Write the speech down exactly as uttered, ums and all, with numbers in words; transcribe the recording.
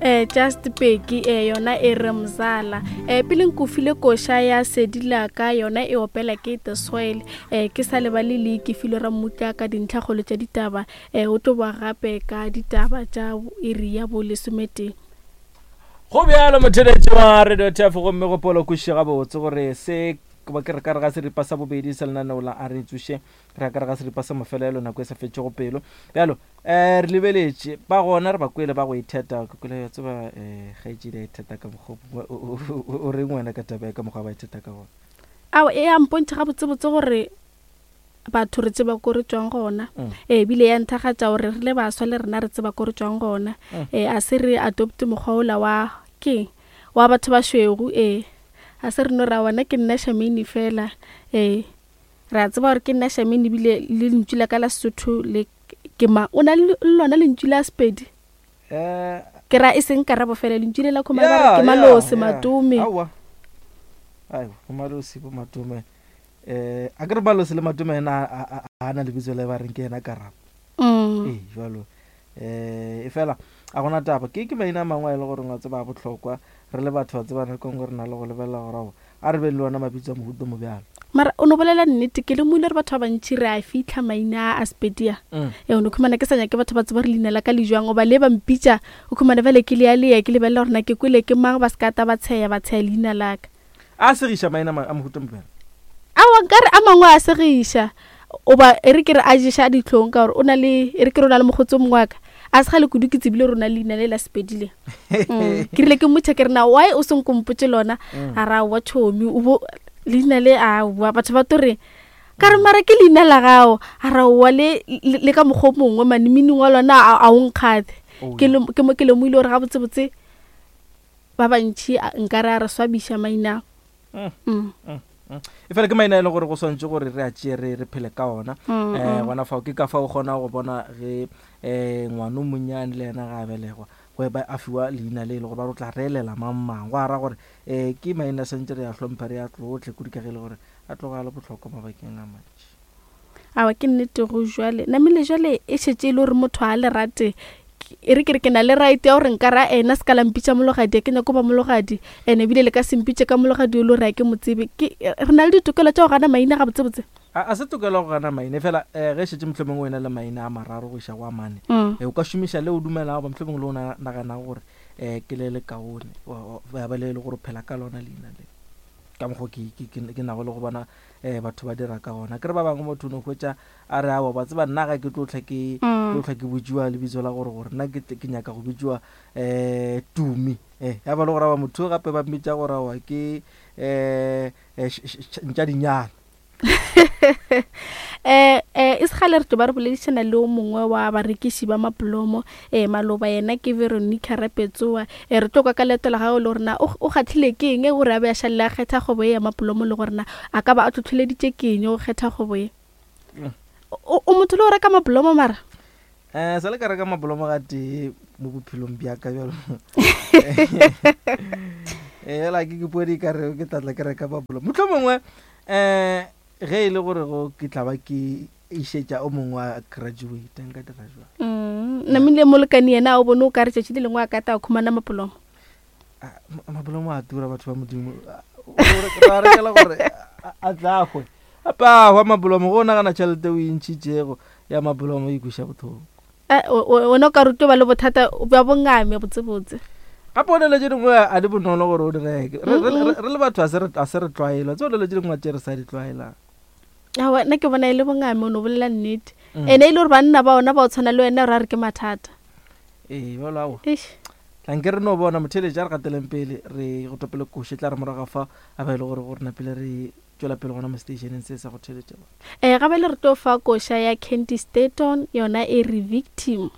um Just Peki um yona e re mzala. um Pele nkofile koša ya Sedilaka, yona e opela ke The Soil. um Ke sa lebale le ke file Rammutla ka dintlhakgolo tša ditaba. um O tlo boa gape ka ditaba tša iri ya bo lesometee. Go bjalo motheletši wa Radio T F, gomme gopola kwešiše gabotse gore se ba ke re ka re ga seripa sa bobedi sa lenaneo la A Re Tsoše, re ya ka re ga seripa sa mafelelo nako e sa fetšego pelo. Bjalo um re lebeletše ba gona, re ba kwele ba go itheta. Ke kwele ya tseba um kgaetšedi a itheta ka mokgwa o, o, o, o reng wena ka taba ya ka mokgwa ba itheta ka gona? Ao, e a mpontšha gabotsebotse gore batho re tseba ko re tšwang gona. Mm. E bile ya nthagatša gore re le baswa le rena re tseba ko re tšwang gona. Mm. E a se re adopte mokgwa ola wa keng wa batho ba šweu. E a se re no ra wena ke nna Shamini fela. E re a tseba gore ke nna Shamini, ebile le lentšu la ka la Sesotho le ke ma, o na le lona lentšu la Sepedi? Eh, Ke ra e seng karabo fela, lentšu le la khoma ba re Yeah, ke yeah, Malose, yeah. Matome. Aowa. Aiwa, bo Malose, bo Matome. Eh, a ke re Malose le Matome ena a, a, a, a na lebitso le ba reng ke yena Karabo. Mm. Ee, jwalo. Eh, e fela a gona taba. Ke ke maina a mangwe a e le gore wa tseba a bohlokwa. Re le batho ba tseba nako nngwe re na le go lebelela gore ao, a re beng le ona mabitso a mohuta mo bjalo. Mara o no bolela nnete, ke lemogile gore batho ba bantši re a fitlha maina a Sepedia. Mm. E o no khumana ke sa nyake batho ba tseba gore leina la ka le jwang, goba le ba mpitša, o khumana bjale ke lea lea, ke lebelela gore na ke kwele ke mang, ba se ka ta ba tsheya, ba tsheya leina la ka. A segiša maina ma-, a mohuta mo bjalo? Aowa, nkare a mangwe a segiša. Oba e re ke re a ješa dihlong ka gore o na le, e re ke re o na le mokgotsi o mongwe wa ka. A se kgale kudu ke tsebile gore o na le leina le la Sepedi le. Mm. Ke rile ke mmotša ke re na why o se nkompotše lona? Mm. A ra wa tšhomi, o bo leina le a wa batho ba to re ka re mara ke leina la gago. A ra wa le, le, le ka mokgwa o mongwe mane meaning wa lona a, a o nkgathe. Oh, Ke yeah. le, ke mo ke lemogile gore gabotsebotse ba bantši a, nkare a re swabiša maina. Mm. Mm. Mm. Mm. E fela ke maina e le gore go swantše gore re a tšee re, re phele ka ona. Mm, Eh, mm. gona fao ke ka fao o kgona go bona ge, eh, ngwana o monnyane le yena ga a belegwa, go ba a fiwa leina le e le gore ba re o tla reelela mang mang. Go ara gore, eh, ke maina a swantše re a hlompha, re a tlotle kudu ka ge e le gore a tloga a le bohlokwa mabakeng a mantši. Aowa, ke nnete go jwale. Namile jwale e šetše e le gore motho a le rate. E re ke re ke na le right ya gore nka ra ena se ka la mpitša mologadi, ke nyako ba mologadi. Ene ebile le ka se mpitše ka mologadi o le gore ha ke mo tsebe. Ke, re na le ditokelo tša go gana maina gabotsebotse? A, a se tokelo go gana maina, fela, eh, ge šetše mohlomongwe o ena le maina a mararo go iša go a mane. Mm. Eh, o ka šomiša le o dumelago, goba mohlomongwe le o na-, naganago gore, eh, ke le le kaone, wa, wa, ya ba le le gore o phela ka lona leina le. Ka mokgwa ke, ke, ke, ke nago le go bona, eh, batho ba dira ka gona. Ke re ba bangwe motho o no hwetša a re, aowa, ba tseba nna ga ke tlo hlwa ke, Mm. tlo hlwa ke botšiwa lebitso la gore, gore nna ke tle, ke nyaka go bitšiwa, eh, Tumi. Eh, ya ba le gore aowa, motho gape ba mmitša gore aowa ke, eh, eh, š-, š-, š-, ntša dinyana. Eh, eh, e se kgale re tlo ba re boledišana le o mongwe wa barekiši ba mapolomo, eh, maloba yena ke Veronica Rapetsoa. Eh, re tlo kwa ka leeto la gagwe le gore na o, o kgahlile ke eng gore a be a šalle a kgetha kgwebo ye ya mapolomo, le gore na a ka ba a tlhotlheleditše ke eng go kgetha kgwebo ye. Mm. O, o motho le go reka mapolomo mara? Eh, sa le ka reka mapolomo ga tee mo bophelong bja ka bjalo. Eh, fela ke ke podi ka re ke tla tla ke reka mapolomo. Mohlomongwe, eh, ge e le gore go ke tla ba ke išetša o mongwe wa graduate, nka dira jwang? Mm, namile molekane yena a o bone o ka re tšatši le lengwe a ka ta khumana mapolomo. Ah, ma-, mapolomo a tura batho ba Modimo. Ah, o re-, ba rekela gore a, a tla hwe. Gape a hwa mapolomo, go nagana tšhelete o e ntšhitšego ya mapolomo e kweša bohloko. Eh, o, o, wena o ka rutwa ba le bothata bja bongame botsebotse. Gape o nele tše dingwe a di bonolo gore o di reke. Re, re, Mm-mm. re, re le batho a se re, a se re tlwaela. Tse o nele tše dingwe tše re sa di tlwaelang. Aowa, nna ke bona e le bongame, o no bolela nnete. Mm. Ene e le gore banna ba ona ba o tshwana le wena, re a re ke mathata. Ee, bjalo aowa. Eish. Tla nke re no bona motheeletši a re gateleng pele, re go topele koši, tla re morago fa, a ba e le gore gore napile re tšwela pele gona mo stationeng se sa go theeletša batho. Eh, gape le re tlo fa koša ya Candy Staton, yona e re Victim.